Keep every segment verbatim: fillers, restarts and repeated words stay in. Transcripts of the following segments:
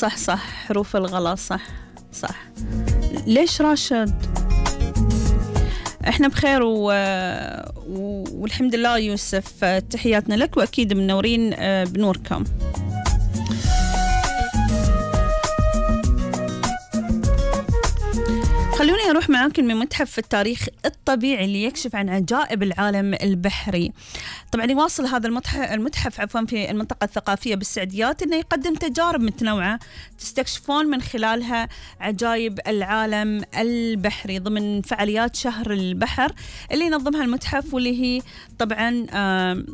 صح صح حروف الغلط صح صح. ليش راشد؟ احنا بخير و... و... والحمد لله يوسف، تحياتنا لك واكيد منورين بنوركم. خلوني أروح معاكم من متحف التاريخ الطبيعي اللي يكشف عن عجائب العالم البحري. طبعا يواصل هذا المتحف, المتحف عفوا في المنطقة الثقافية بالسعديات أنه يقدم تجارب متنوعة تستكشفون من خلالها عجائب العالم البحري ضمن فعاليات شهر البحر اللي ينظمها المتحف، واللي هي طبعا آه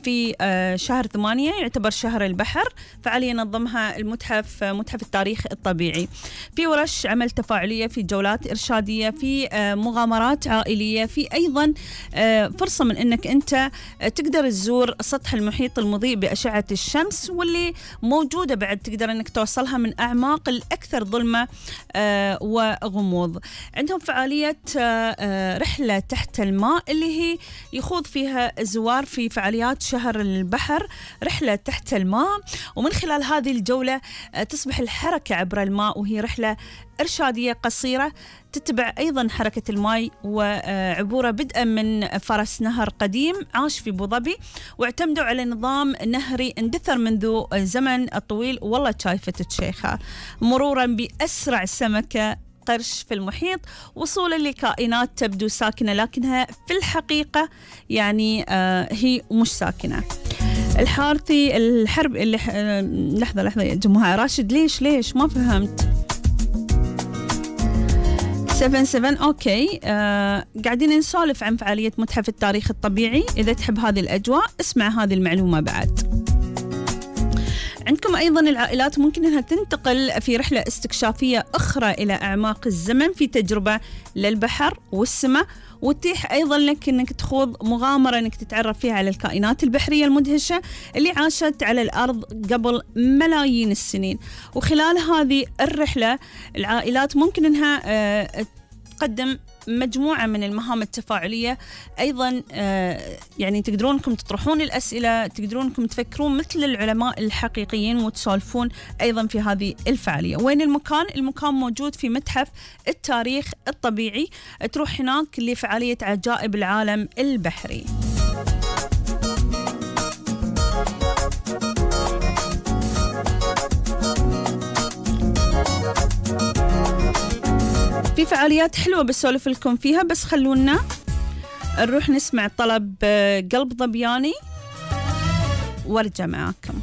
في شهر ثمانية يعتبر شهر البحر. فعالية ينظمها المتحف متحف التاريخ الطبيعي، في ورش عمل تفاعلية، في جولات إرشادية، في مغامرات عائلية، في أيضا فرصة من أنك أنت تقدر تزور سطح المحيط المضيء بأشعة الشمس، واللي موجودة بعد تقدر أنك توصلها من أعماق الأكثر ظلمة وغموض. عندهم فعالية رحلة تحت الماء اللي هي يخوض فيها الزوار في فعاليات شهر البحر رحلة تحت الماء، ومن خلال هذه الجولة تصبح الحركة عبر الماء، وهي رحلة إرشادية قصيرة تتبع أيضا حركة الماء وعبورة بدءا من فرس نهر قديم عاش في أبو ظبي، واعتمدوا على نظام نهري اندثر منذ الزمن الطويل، والله شايفة الشيخة، مرورا بأسرع سمكة قرش في المحيط، وصولا لكائنات تبدو ساكنة لكنها في الحقيقة يعني آه هي مش ساكنة. الحارثي الحرب اللي آه لحظة لحظة يا جماعة، راشد ليش ليش ما فهمت؟ سبعة سبعة أوكي. آه قاعدين نسولف عن فعالية متحف التاريخ الطبيعي، إذا تحب هذه الأجواء اسمع هذه المعلومة بعد. عندكم أيضا العائلات ممكن أنها تنتقل في رحلة استكشافية أخرى إلى أعماق الزمن في تجربة للبحر والسماء، وتتيح أيضا لك أنك تخوض مغامرة أنك تتعرف فيها على الكائنات البحرية المدهشة اللي عاشت على الأرض قبل ملايين السنين. وخلال هذه الرحلة العائلات ممكن أنها آه تقدم مجموعة من المهام التفاعلية أيضا، آه يعني تقدرون انكم تطرحون الأسئلة، تقدرون انكم تفكرون مثل العلماء الحقيقيين وتسولفون أيضا في هذه الفعالية. وين المكان؟ المكان موجود في متحف التاريخ الطبيعي، تروح هناك لفعالية عجائب العالم البحري. في فعاليات حلوة بسولف لكم فيها، بس خلونا نروح نسمع طلب قلب ظبياني وارجع معاكم.